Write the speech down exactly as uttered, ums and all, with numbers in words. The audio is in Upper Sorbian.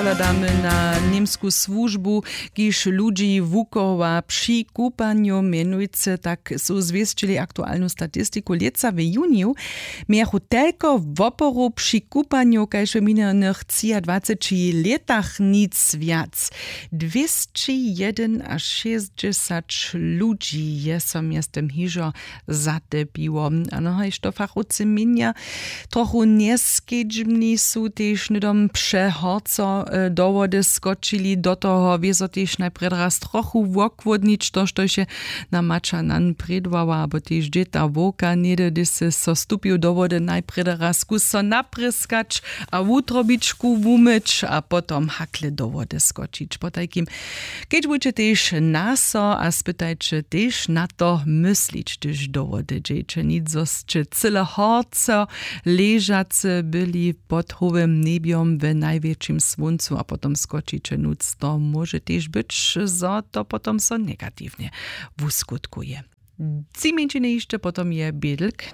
Pohladamy na němsku słužbu, kiž ludźi wukowa při kupanju mjenujcy, tak su zwěsćili aktualnu statistiku. Lětsa w juniju mějachu telko woporow při kupanju kaž w minjenych třiadwaceći lětach, nic wjac. Dwěsćijedynašěsćdźesać ludźi je so mjeztym hižo zatepiło. A nohaj što fachowcy měnja, trochu njeskedźbni su tež hnydom přehorco do wody skočili. Do toho wězo tež najprjedy raz trochu wochłódnić to štož je na maća nan prědłała abo tež dźěta wowka něhdy hdyž sy so stupił do wody najprjedy raz kuso naprěskać a wutrobičku wumyć a potom hakle do wody skočić potajkim. Kedźbujće tež na so a spytajće tež na to myslić hdyž do wody dźeće nic zo sće cyle horco ležacy byli pod howym njebjom w najwjetšim słóncu a potom skočiće nutř to móže tež być zo to potom so negatiwnje wuskutkuje. Tři mjeńšiny hišće potom je bědlk.